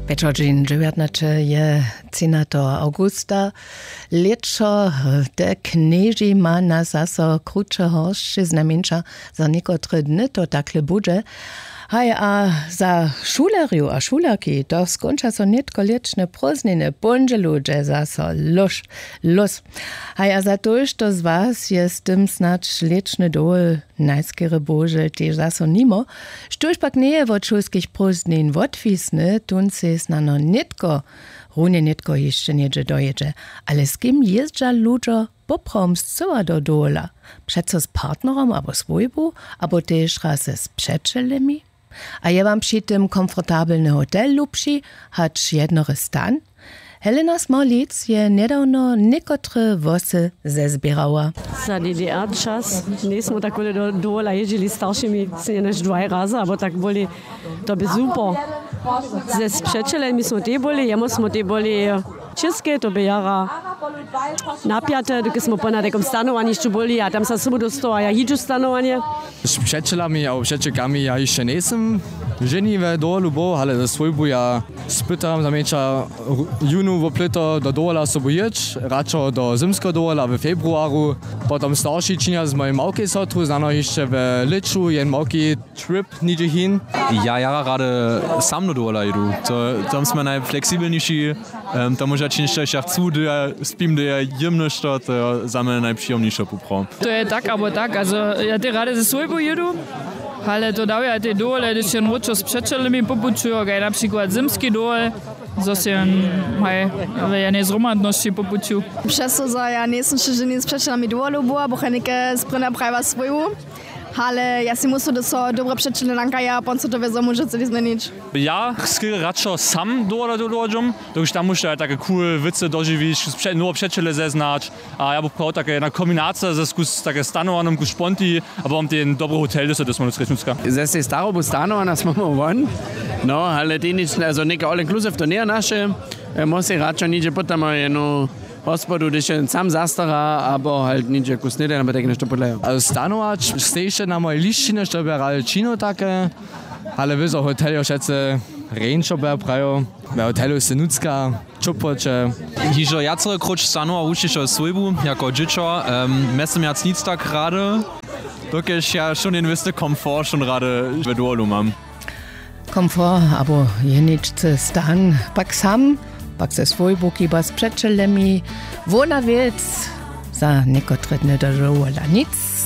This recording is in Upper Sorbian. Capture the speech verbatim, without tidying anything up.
Pječordźeń dźewjatnaće je třinjateho awgusta. Lětšo te knježi ma nas zaso kruće horsće znajmjeńša za někotre dny to takle budźe. Haj, a za šulerju a šulerki to skónča so nětko lětšne prózdniny póndźelu dźe zaso lóž lós. Haj, a za tójšto z was je z tym snadź lětšny dołh najskerje bohužel tež zaso nimo. Štóž pak njeje wot šulskich prózdnin wotwisny, tón sej snano nětko runje nětko hišće něhdźe dojědźe. Ale z kim jězdźa ludźo poprawom scyła do dowola? Přeco z partnerom abo swójbu, abo tež raz z přećelemi? A je wam při tym komfortabelny hotel lubši hač jednory stan? Helena smorlic je njedawno někotre włosy zezběrała. Za ddr čas njejsmy tak wóle do dowola jězdźili staršimi, sej nješ dwaj razy abo tak wóle. To by super. Z přećelemi smy tej byli, jemu smy tej byli w čěskej, to by jara napjate, dokelž smy pona takom stanowanišću byli a tam sa sobu dostała ja jidźu stanowanje. Z přećelami abo přećelkami ja hišće njejsym ženi we dowolu był, ale ze swójbu ja spytam zamjeńša junu woplyto do dowola sobu jěć, radšo do zymskeho dowola we februaru. Potom starši činja z mojej małkej sotru znano hišće we lěću jen małki trip nihdźe hin. Ja jara rady sam do dowola jědu. Tam smy najfleksibelniši. Tam móža činić to ja chcu, do ja spim, do ja jěm něšto, to je za mnje najpřijomnišo poprawom. To je tak abo tak, also ja tej rady ze swójbu jědu. Ale to dawja tej dowole hdyž jen wróćo z přećelemi popućujo kaj na přikład zymski dowol, zo sej jen haj w jenej zhromadnosći popuću. Přeso zo ja njejsym wšě ženi z přećelami dowolu była buchenike sprěnja prajiła swójbu. Ale ja sej musu do so dobre přećele nankaja a pon so to wězo móže celi změnić. Ja skerje radšo sam dowola dowola dźom, dokelž tam móžeš tak cool wěcy dožiwić, nowe přećele zeznać. A ja bych prawił tak jedna kombinacija ze skus tak stanowanym ku šponti, abo mam ten dobry hotel do se dosmanu srečnutska. Ze sej starobu stanowana smy mu won. No ale tej nič, also něke all inclusive to njeje naše. Móžeš sej radšo nihdźe potom jednu hospodu hdyž je sam zastara abo halt nihdźe ku snědaj abo tak něšto podlejo. Stanować stejše na mojej lisćinje što by ja rady činił take. Ale wězo hotel jo wšetcy rjeńšo by ja prajił. We hotelu sej nutřka, ćopłoće. Hižo wjacore króć stanowa wušćišo swójbu jako dźěćo. Mjeztym wjac nic tak rady, dokelž ja wšón jen wěsty komfort wšón rady we dowolu mam. Komfort abo jeničcy stan, pak sam, pak ze swójbu kiba z přećelemi. Hłowna wěc, za někotre dny do dowola nic.